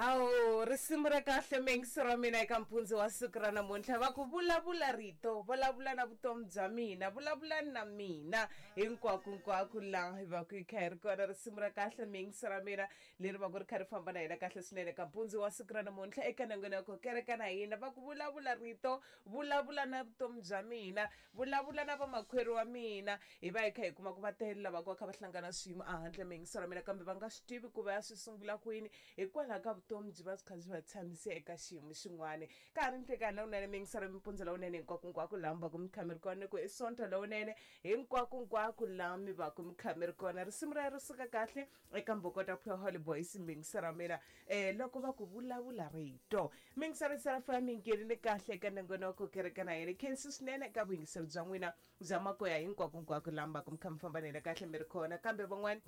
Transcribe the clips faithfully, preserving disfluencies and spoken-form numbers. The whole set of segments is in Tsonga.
Hawu, risimu ra kahle mengisi ra mina eka mpundzu wa siku ra namuntlha. Va ku vulavula rito, vulavula na vutomi bya mina, vulavula na mina hinkwakunkwako laha hi va ku hi kha hi ri kona. Risimu ra kahle mengisi ra mina leri va ku ri kha ri famba na hina kahle swinene eka mpundzu wa siku ra namuntlha eka nongonoko kereke na hina. Va ku vulavula rito, vulavula na vutomi bya mina, vulavula na vamakwerhu wa mina. Hi va hi kha hi kuma ku va tele lava ku va kha va hlangana swiyimo ehandle mengisi ra mina, kambe va nga swi tivi ku va ya swi sungula kwini hikwalaho ka vutomi byi va byi kha byi va tshamise eka xiyimo xin'wana. Ka ha ri nhlekani lowunene mengisi ra mimpundzu lowunene hinkwakunkwako laha mi va ku mi kha mi ri kona, ku i sonto lowunene hinkwakunkwako laha mi va ku mi kha mi ri kona. Risimu ra ri suka kahle eka Mbokota Pure Holy Boys mengisi ra mina um loko va ku vulavula rito. Mengisi ra serafa mi nghenile kahle eka nongonoko kereke na yena. Khensi swinene eka vuyingiseri bya n'wina bya makoya hinkwakunkwako laha mi va ku mi kha mi famba na hina kahle mi ri kona. Kambe van'wani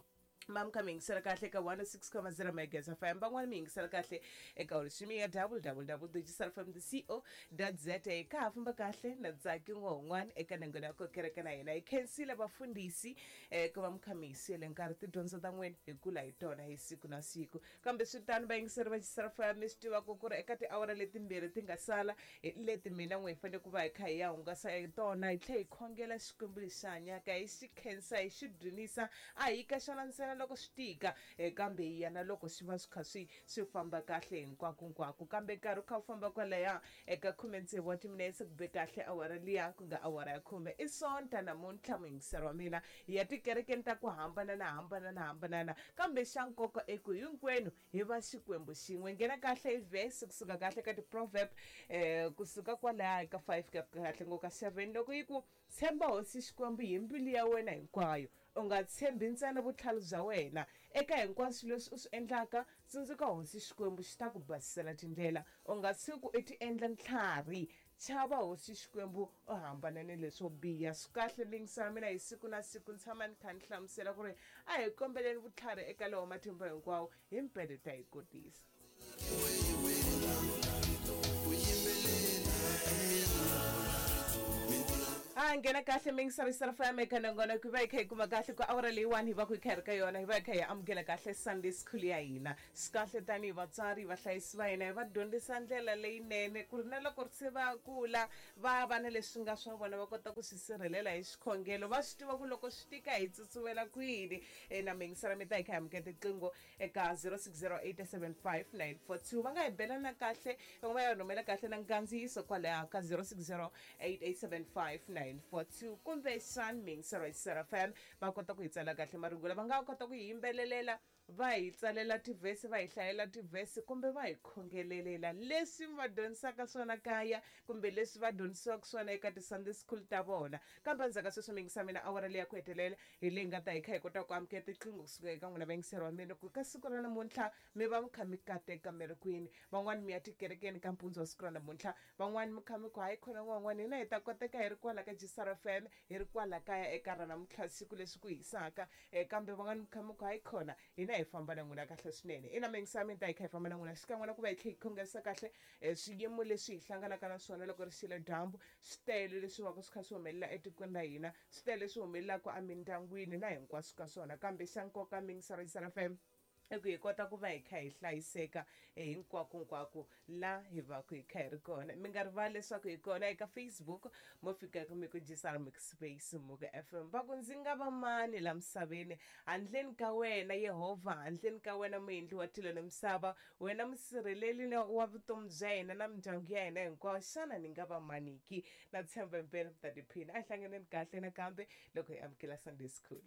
ma mi kha mi yingisela kahle eka one six comma zero megahertz F M, van'wani mi yingisela kahle eka streaming ya w w w dot gsrfm dot co dot za. Ka ha famba kahle na Ntsaki n'wan'wana eka nongonoko kereke na hina. Hi khensile vafundhisi um ku va mi kha mi hi siyele nkarhi tidyondzo ta n'wina hi kula hi tona hi siku na siku. Kambe swi tano vayingiseri va G S R F M, mi swi tivaka ku ri eka tiawara letimbirhi ti nga sala hi leti mina n'we hi fanele ku va hi kha hi ya hungasa hi tona, hi tlhela hi khongela Xikwembu lexi hanyaka, hi xi khensa, hi xi dzunisa. A hi ka xona ntsena loko swi tika, eh, kambe hi ya na loko swi va swi kha swi swi famba kahle hinkwakunkwako. Kambe nkarhi wu kha wu famba kwalaya eka khume tsevu wa timinetse ku be kahle awara liya ku nga awara ya khume. I sonta namuntlha muyingiseri wa mina, hi ya tikerekeni ta ku hambanana hambanana hambanana, kambe xa nkoka i ku hinkwenu hi va Xikwembu xin'we. Nghena kahle hi vhesi kusuka kahle ka ti-proverb um kusuka kwalaya ka five ka kahle ngo ka seven, loko yi ku tshemba hosi Xikwembu hi mbilu ya wena hinkwayo, u nga tshembi ntsena vutlhari bya wena. Eka hinkwaswo leswi u swi endlaka, tsundzuka hosi Xikwembu, xi ta ku basisela tindlela. U nga tshuki u ti endla ntlhari, chava hosi Xikwembu, u hambana ni leswo biha. Swi kahle mingisa mina hi siku na siku ni tshama ni kha ni hlamusela ku ri a hi kombeleni vutlhari eka lowo matimba hinkwawo, hi mpele ta hi kotisa. A nghena kahle mingisarisa fm eka nongonoko, hi va hi kha hi kuma kahle ku awara leyiwani hi va ku hi kha hi ri ka yona, hi va hi kha hi amukela kahle Sunday school ya hina. Swi kahle tanihi vatswari, vahlayisi va hina, hi va dyondzisa ndlela leyinene ku ri na loko se va kula va va na leswi nga swa vona, va kota ku swi sirhelela hi xikhongelo, va swi tiva ku loko swi tika hi tsutsumela kwini. Na mingisara mi ta hi kha hi amukela tiqingho eka zero six zero eight seven five nine four two. Va nga hi belana kahle, va nga va ya rhumela kahle na nkandziyiso kwalaya ka zero six zero eight eight seven five nine four two, kumbe xan mingisero F M va kota ku hi tsala kahle marungula. Va nga kota ku hi yimbelelela, va hi tsalela tivhesi, va hi hlayela tivhesi, kumbe va hi khongelelela leswi va dyondzisaka swona kaya kumbe leswi va dyondzisiwaka swona eka ti-Sunday school ta vona. Kambe endzhaku ka sweswo mingisa mina awara leyi ya ku hetelela hi leyi nga ta hi kha hi kota ku amukela tiqingho kusuka eka n'wina vayingiseri wa mina, ku ka siku ra namuntlha mi va mi kha mi kateka mi ri kwini. Van'wani mi ya tikerekeni ka mpundzu wa siku ra namuntlha, van'wani mi kha mi ku hayi khona n'wan'wana, hina hi ta koteka hi ri kwala ka G S R F M, hi ri kwala kaya eka ra namuntlha siku leswi ku hisaka, kambe van'wani mi kha mi ku hayi khona hina hi famba na n'wina kahle swinene. Ina mingisa mi ta hi kha hi famba na n'wina xikan'we na ku va hi tlhe hi khongerisa kahle swiyimo leswi hi hlanganaka na swona loko ri xile dyambu, switele leswi va ku swi kha swi humelela etikweni ra hina, switele leswi humelelaka emindyangwini na hinkwaswo ka swona. Kambe xa nkoka mingisa ra G S R F M i ku hi kota ku va hi kha hi hlayiseka hinkwakunkwako la hi va ku hi kha hi ri kona. Mi nga rivali leswaku hi kona eka Facebook, mo fika mi ku G S R Mix Space Muku F M. Va ku ndzi nga va mani la misaveni handleni ka wena Yehovha, handleni ka wena muendli wa tilo na misava, wena musirheleli wa vutomi bya hina na mindyangu ya hina hinkwayo, xana ni nga va mani ki? Na tshemba impela mi ta tiphina. A hi hlanganeni kahle nakambe loko hi amukela Sunday school.